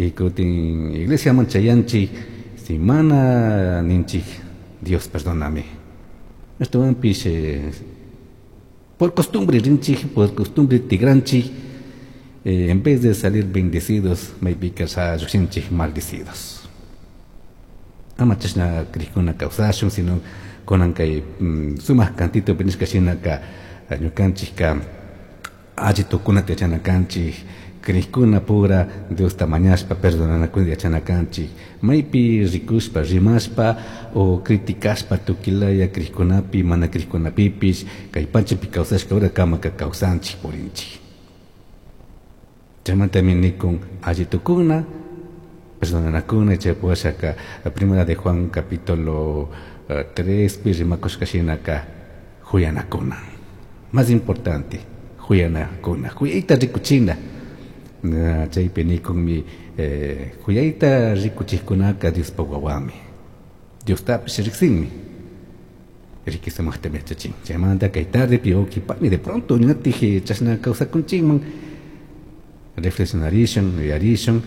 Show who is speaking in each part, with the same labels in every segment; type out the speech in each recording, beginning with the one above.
Speaker 1: Y kutin iglesiaman chayanchik, si mana ninchik Dios perdóname. Ashtawanpish por costumbre rinchik, por costumbre tigranchik, en vez de salir bendecidos, maypika llukshinchik maldecidos. Ama chashna crijkuna kawsashun, sino kunan kay sumak cantito nishka shinaka ñukanchikka alli tukunata yachana kanchik, crijkuna pura Diosta mañashpa perdonanakunata yachana kanchik, maypi rikushpa, rimashpa o criticashpa tukilaya crijkunapi, mana crijkunapipish kay pachapi kawsashka hora kamaka kawsanchik purinchik. Chaymantami nikun alli tukuna, perdonanakuna, chay washaka Primera de Juan capítulo 3 pi rimakushka shinaka huyanakuna. Más importante, huyanakuna, huyayta rikuchina. Chaypi nikunmi huyayta rikuchikkunaka Diospa wawami. Diostapish riksinmi. Riki sumaqtami yachachin. Chaymanta kay tardepi uqui pani de pronto ñatij chashna kawsakunchikman reflexionarishun, yuyarishun,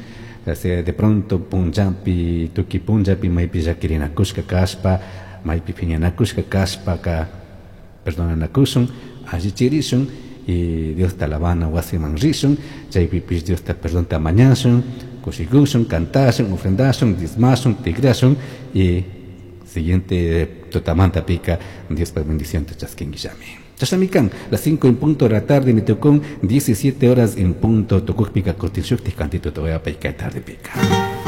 Speaker 1: de pronto punllapi, tukuy punllapi maypi llakirinakushka kashpa, maypi phiñanakushka kashpaka perdonanakushun, allichirishun y Diosta alabana wasiman rishun, chaypipish Diosta perdonta mañashun, kushikushun, kantashun, ofrendashun, diezmashun, tigrashun y siguiente tutamanta pika Diospa bendición te chaskinguillami. Chashnami kan, las 5 en punto de la tarde me tocó 17 horas en punto, tocó pica cortin shukti cantito te voy a picar tarde pica.